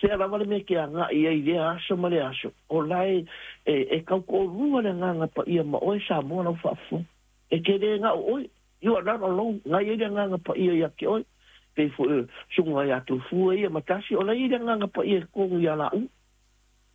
Fea lava le mea e te agai ai i lea aso ma lea aso, o la e tautoalua le Agaga Paia ma oe Samoa lau faafofoga. E te le ga'o oe, you are not alone, na i ai le Agaga Paia ia te oe. Pei foi o susuga ia Tofua ia ma Tasi, o la e i ai le Agaga Paia i totonu ia laua.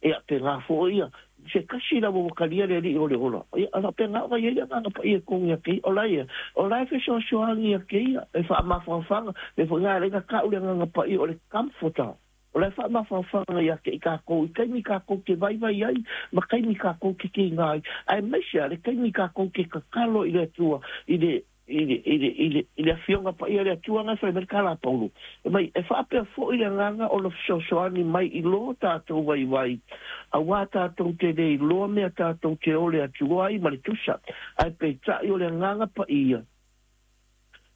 Ia, pēnā foi ia, se tasi lava ua talia le Alii o le ola, ia, a faapena ona i ai le Agaga Paia i totonu ia te ia. O la ia, o la e fesoasoani ia te ia, e faamafanafana, pei foi na ala ai ona ta'u le Agaga Paia o le Comforter. O la e faamafanafana ia te i kākou i taimi kākou te vaivai ai ma taimi kākou te kīnā ai, aemaise a le taimi kākou te tatalo i le Atua i le i le, i le, i le, i le Afioga Paia le Atua na e fai mai le tala a Paulo, fai mai, e faapea foi le agaga o le fesoasoani mai i lo tātou vaivai, auā tātou te le iloa mea tātou te ole atu ai ma le tusa, ae peitai o le Agaga Paia,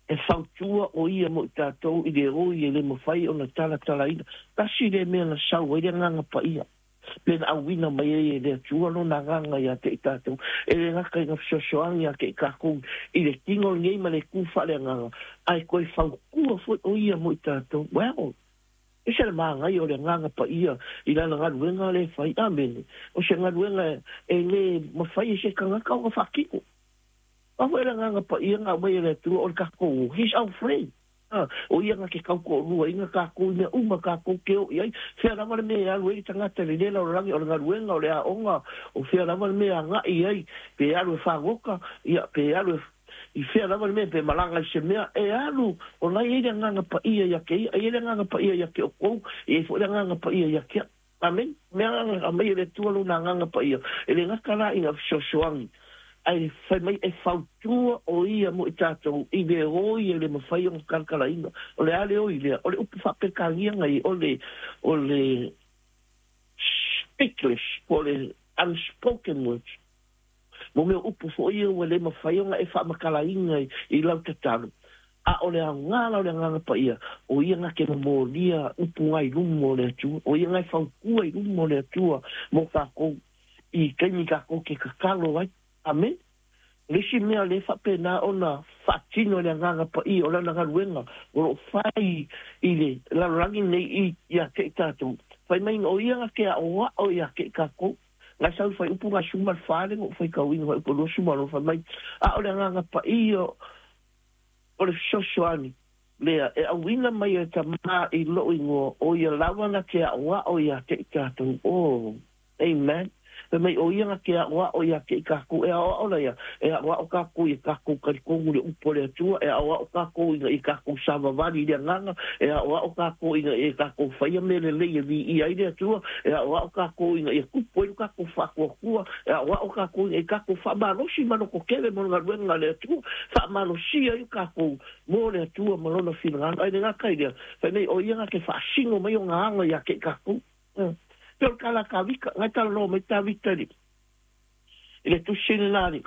e fautua o ia mo i tātou i le oi e le mafai ona talatalaina. Tasi lea mea na sau ai le Agaga Paia. Pe na auina mai ai e le Atua lona agaga ia te i tātou, e le gata i ngā fesoasoani ia te i kākou i le tino lenei ma le kū faaleagaga, ae toe fautua foi o ia mo i tātou. Well, ese le māngai o le Agaga Paia i lana galuega lea e fai. Amene. O se galuega e le mafai e se tagata ona faatino. A foi le Agaga Paia na aumai e le Atua o le tatou, He's our friend. A, o ia na te tautoaluaina kākou i mea uma kākou ke o i ai. Fea lava le mea e alu ai le tagata i lenei lalolagi, o le galuega, o le aoga, o fea lava le mea e agai ai, pe alu e fagota, ia, pe alu e, i fea lava le mea, pe malaga i se mea, e alu, o la e i ai le Agaga Paia ia te ia, e i ai le Agaga Paia ia te outou, e i ai foi le Agaga Paia ia te au. Amene. Mea na aumai e le Atua lona Agaga Paia, e le gata la i nga fesoasoani, ae fai mai e fautua o ia mo i tatou i le oi e le mafai ona talatalaina. O le a le oi lea? O le upu faa-Peretania na i o le, o le speechless, po o le unspoken words. Mo mea upu foi ia ua le mafai ona e faamatalaina i lau tatalo, a o le aoga la o le Agaga Paia, o ia na te momolia upu nga i luma o le Atua, o ia na e fautua i luma o le Atua mo kākou i taimi kākou ke tatalo ai. Amene. O le isi mea lea e faapena ona faatino e le Agaga Paia o lana galuega o lo o fai i le lalolagi lenei ia te i tatou, fai mai o ia na te aoao ia te i takou. Ngai sau fai upu ngai suma le fale ngo fai kau inga fai upu lua suma lo fai mai a o le agaga paia o le fesoasoani lea e auina mai e Tama i lou ingoa o ia lava na te aʻoaʻo ia te i tatou. Oh, amen. Fai mai o ia na te aʻoaʻo ia te i tatou. E aʻoaʻo la ia, e aʻoaʻo tatou i tatou talitonu i le upu a le Atua, e aʻoaʻo tatou ina ia tatou savavali i le agaga, e aʻoaʻo tatou ina ia tatou faia mea lelei e viia ai le Atua, e aʻoaʻo tatou ina ia tupu ai lo tatou faatuatua, e aʻoaʻo tatou ina ia tatou faamalosi ma lototele mo le galuega a le Atua, faamalosia ai tatou mo le Atua ma lona finagalo. Ae le gata i lea, fai mai o ia na te faasino mai ona aga ia te i tatou. Pei o le tala a Tavita, na e talanoa mai Tavita i le tusi lena a le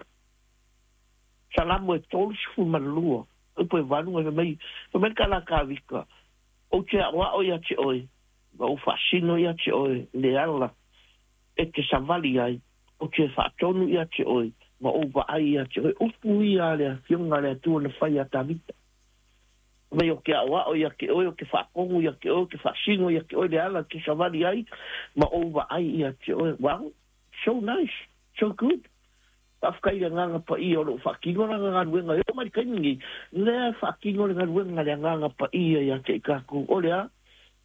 Salamo e 32, upu e 8, fai mai, fai mai le tala a Tavita, Ou te aʻoaʻo ia te oe, ma ou faasino ia te oe le ala e te savali ai, ou te faatonu ia te oe, ma ou vaai ia te oe. Upu ia a le Afioga a le Atua na fai ia Tavita. Fai mai, o ke aʻoaʻo ia te oe, o ke faatonu ia te oe, o ke faasino ia te oe le ala e te savali ai, ma ou vaai ia te oe. Wow, so nice, so good. Faafetai i le Agaga Paia o lo o faatino lana galuega e oo mai i le taimi nei, lea e faatino le galuega a le Agaga Paia ia te i tatou. O le a?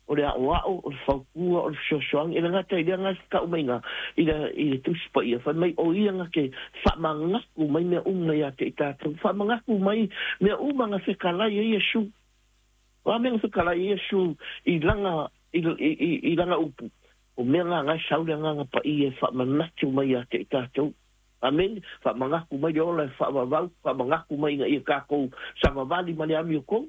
O le aʻoaʻo, o le fautua, o le fesoasoani. E le gata i lea na tau mai ina i le, i le Tusi Paia, fai mai o ia na te faamanatu mai mea uma ia te i tatou. Faamanatu mai mea uma na fetalai ai Iesu. O a mea na fetalai ai Iesu i lana, i, i, i, i lana upu? O mea na na e sau le Agaga Paia e faamanatu mai ia te i tatou. Amene. Faamanatu mai le ola e faavavau, faamanatu mai ina ia tatou savavali ma le amiotonu.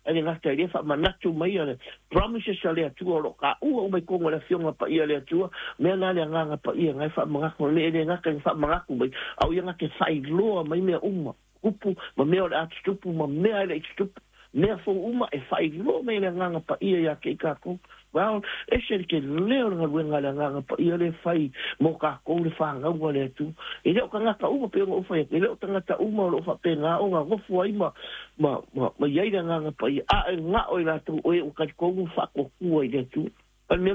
Ae le gata i lea, faamanatu mai a le promises a le Atua o lo o taua uma i totonu o le Afioga Paia a le Atua, mea na le Agaga Paia na e faamanatu mai, e le gata ina faamanatu mai, a o ia na te faailoa mai mea uma, tupu ma mea o le a tutupu ma mea e le i tutupu, mea fou uma e faailoa mai e le Agaga Paia ia te i tatou. Well, ese le tele o le galuega a le Agaga Paia lea e fai mo tatou le fanau a le Atua. E le o tagata uma pei ona ou fai atu, e le o tagata uma o lo o faapena ona nofo ai ma, ma, ma, ma i ai le Agaga Paia, a e ga'o i latou o e ua talitonu ma faatuatua i le Atua. O le mea